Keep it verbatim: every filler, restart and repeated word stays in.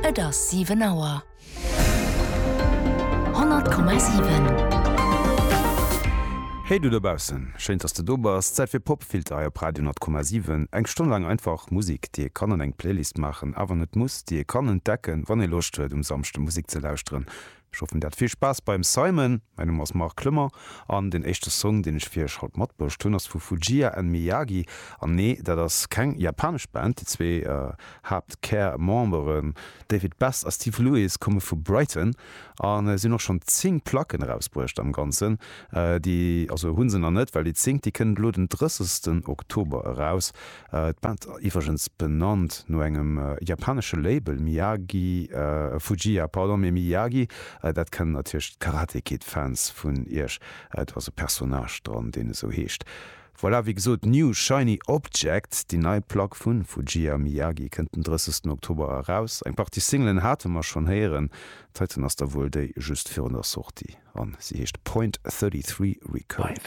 Et ass siwen Auer. Honnert Komma siwen. Hey du dobaussen, schéin dass de do bass. Zäit fir Popfilter hei op Radio honnert Komma siwen. Eng Stonn laang einfach Musek, déi ee kann an eng Playlist maachen, awer net muss, déi ee kann entdecken, wann ee Loscht huet um Samschde Musek ze lauschteren. Ech hoffen dir hat vill Spaass beim Simon. Mäin Numm ass Marc Clement an den éischte Song deen ech fir iech haut matbruecht hunn ass vu Fujiya and Miyagi. An nee, dat ass keng japanesch Band, déi zwee Haaptkär-Memberen David Best a Steve Lewis komme vu Brighton a si hunn och schonn zéng Placken erausbruecht am Ganzen. Déi, also hu se nach net, well déi zéngt déi kënnt elo den drëssegsten Oktober eraus. D'Band iwwregens benannt no engem japanesche Label, Miyagi, Fujiya, pardon, mee Miyagi, dat kennen natierlech d'Karate Kid Fans vun iech, do ass e Personnage dran, deen esou heescht. Voilà, wéi gesot, New Shiny Object, déi nei Plack vu Fujiya Miyagi kënnt den drëssegsten Oktober eraus. Eng Partie Singlen hate mer schonn héieren, d'heiten ass da wuel déi just virun der Sortie an si heescht Point Thirty Three Recurring.